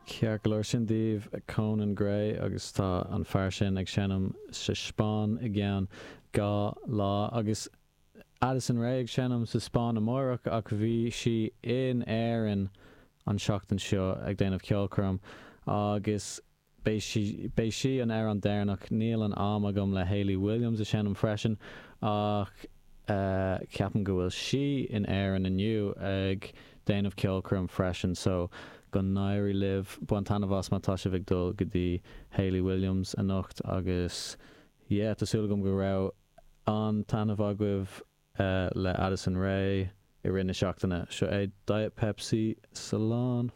Ceart go leor, sin daoibh Conan Gray agus tá an fear sin ag seinm sa Spáinn i gceann 2 lá agus Addison Rae ag seinm sa Spáinn amáireach ach bhí sí in Éirinn an seachtain seo ag déanamh ceolchoirm agus beidh sí beidh sí an amhrán deireanach. Níl an am agam le Hayley Williams a seinm freisin ach ceapaim go bhfuil sí in Éirinn inniu ag déanamh ceolchoirm freisin so go n-éirí libh. Bain taitneamh as má tá sibh ag dul go dtí Hayley Williams anocht agus yeah tá súil agam go raibh an-taitneamh agaibh le Addison Rae i rith na seachtaine. Seo é Diet Pepsi Slán.